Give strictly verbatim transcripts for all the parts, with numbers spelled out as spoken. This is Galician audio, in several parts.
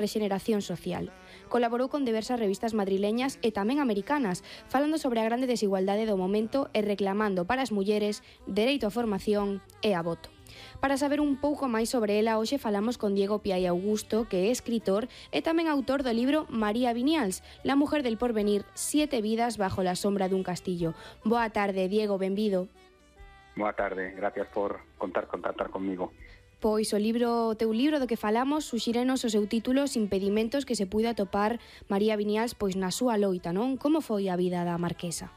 rexeneración social. Colaborou con diversas revistas madrileñas e tamén americanas, falando sobre a grande desigualdade do momento e reclamando para as mulleres dereito á formación e a voto. Para saber un pouco máis sobre ela, hoxe falamos con Diego Piai Augusto, que é escritor e tamén autor do libro María Viñals, La mujer del porvenir, siete vidas bajo la sombra dun castillo. Boa tarde, Diego, benvido. Boa tarde, gracias por contar contactar comigo. Pois o libro, o teu libro do que falamos suxírenos o seu título Os impedimentos que se puido atopar María Viñals pois na súa loita, non? Como foi a vida da marquesa?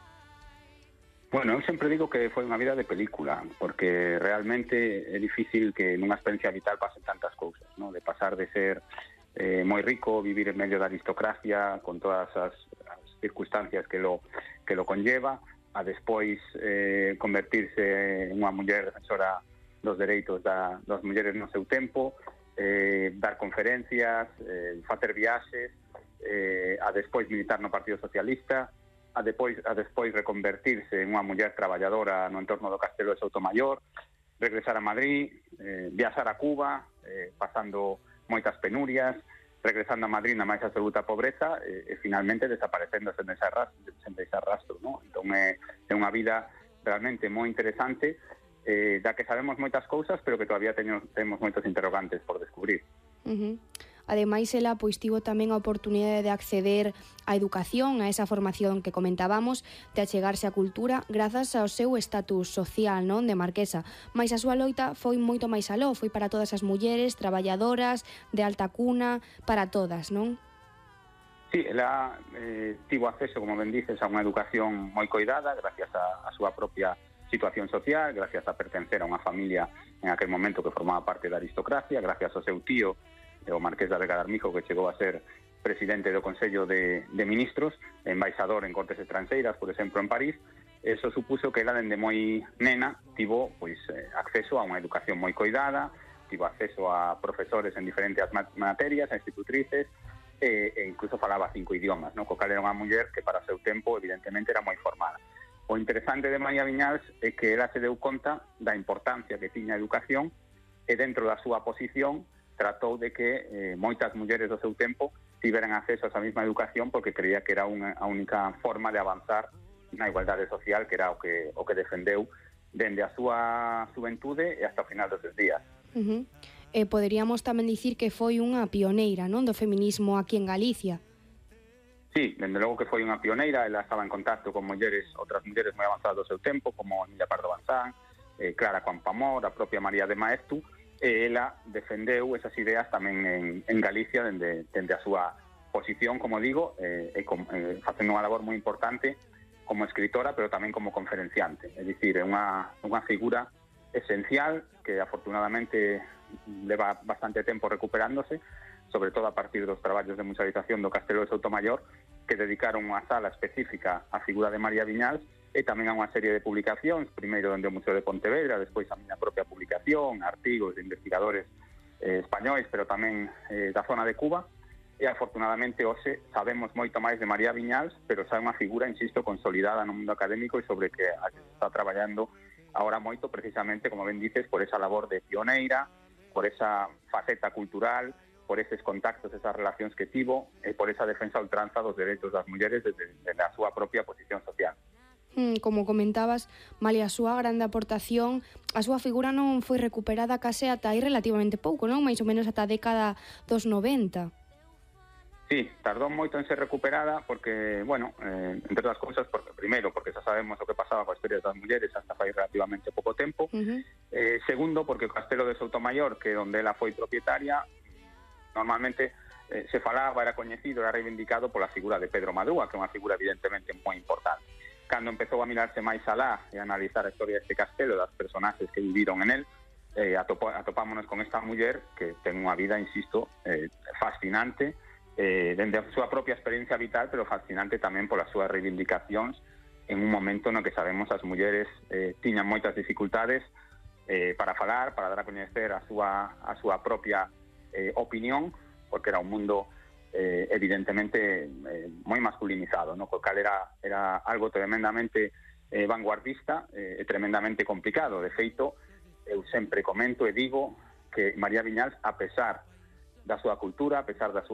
Bueno, eu sempre digo que foi unha vida de película, porque realmente é difícil que nunha experiencia vital pasen tantas cousas, non? De pasar de ser eh, moi rico, vivir en medio da aristocracia, con todas as, as circunstancias que lo, que lo conlleva, a despois eh, convertirse en unha muller defensora dos dereitos da, das mulleres no seu tempo, eh, dar conferencias, eh, facer viaxes, eh, a despois militar no Partido Socialista, a despois, a despois reconvertirse en unha muller traballadora no entorno do Castelo de Soutomaior, regresar a Madrid, eh, viaxar a Cuba, eh, pasando moitas penurias, regresando a Madrid na máis absoluta pobreza e, e finalmente desaparecendo sen deixar rastro, sen deixar rastro, ¿no? Entón é, é unha vida realmente moi interesante, eh, da que sabemos moitas cousas, pero que todavía teño, temos moitos interrogantes por descubrir. Uh-huh. Ademais, ela pois tivo tamén a oportunidade de acceder á educación, a esa formación que comentábamos, de achegarse á cultura, grazas ao seu estatus social, non, de marquesa. Mais a súa loita foi moito máis aló, foi para todas as mulleres, traballadoras, de alta cuna, para todas, non? Sí, ela eh, tivo acceso, como ben dices, a unha educación moi coidada, gracias a, a súa propia situación social, gracias a pertencer a unha familia en aquel momento que formaba parte da aristocracia, gracias ao seu tío, o Marqués de Vega de Armijo, que chegou a ser presidente do Consello de, de Ministros, embaixador en Cortes Estranxeiras, por exemplo, en París. Eso supuso que ela, dende moi nena, tivo pois, eh, acceso a unha educación moi coidada, tivo acceso a profesores en diferentes materias, a institutrices, e, e incluso falaba cinco idiomas, no? Co cal era unha muller que para o seu tempo, evidentemente, era moi formada. O interesante de María Viñals é que ela se deu conta da importancia que tiña a educación e dentro da súa posición tratou de que eh, moitas mulleres do seu tempo tiveran acceso a esa mesma educación porque creía que era unha, a única forma de avanzar na igualdade social, que era o que, o que defendeu dende a súa xuventude e hasta o final dos seus días. Uh-huh. E poderíamos tamén dicir que foi unha pioneira, non, do feminismo aquí en Galicia. Sí, dende logo que foi unha pioneira, ela estaba en contacto con mulleres, outras mulleres moi avanzadas do seu tempo, como Emilia Pardo Bazán, eh, Clara Campoamor, a propia María de Maeztu, e ela defendeu esas ideas tamén en, en Galicia dende, dende a súa posición, como digo, eh, e com, eh, facendo unha labor moi importante como escritora, pero tamén como conferenciante. É dicir, é unha, unha figura esencial que afortunadamente leva bastante tempo recuperándose, sobre todo a partir dos traballos de musealización do Castelo de Soutomaior, que dedicaron unha sala específica á figura de María Viñals e tamén a unha serie de publicacións, primeiro dende o Museo de Pontevedra, despois a miña propia publicación, artigos de investigadores eh, españois, pero tamén eh, da zona de Cuba, e afortunadamente hoxe sabemos moito máis de María Viñals, pero xa é unha figura, insisto, consolidada no mundo académico e sobre que a que se está traballando ahora moito, precisamente, como ben dices, por esa labor de pioneira, por esa faceta cultural, por eses contactos, esas relacións que tivo e por esa defensa a ultranza dos dereitos das mulleres desde, desde a súa propia posición social. Mm, como comentabas, malia a súa grande aportación, a súa figura non foi recuperada case ata aí relativamente pouco, non? Mais ou menos ata a década dos noventa. Sí, tardou moito en ser recuperada porque, bueno, eh, entre outras cousas, porque, primeiro, porque xa sabemos o que pasaba coa historia das mulleres hasta fai relativamente pouco tempo, uh-huh. eh, segundo, porque o Castelo de Soutomaior, que onde ela foi propietaria, normalmente eh, se falaba, era coñecido, era reivindicado pola figura de Pedro Madúa, que é unha figura evidentemente moi importante. Cando empezou a mirarse máis alá e a analizar a historia deste castelo, das personaxes que viviron en él, eh, atopo, atopámonos con esta muller que ten unha vida, insisto, eh, fascinante, eh, dende a súa propia experiencia vital, pero fascinante tamén polas súas reivindicacións en un momento no que sabemos as mulleres eh, tiñan moitas dificultades eh, para falar, para dar a coñecer a súa, a súa propia Eh, opinión, porque era un mundo eh, evidentemente eh, moi masculinizado, ¿no? Co cal era, era algo tremendamente eh, vanguardista e eh, tremendamente complicado. De feito, eu sempre comento e digo que María Viñals, a pesar da súa cultura, a pesar da súa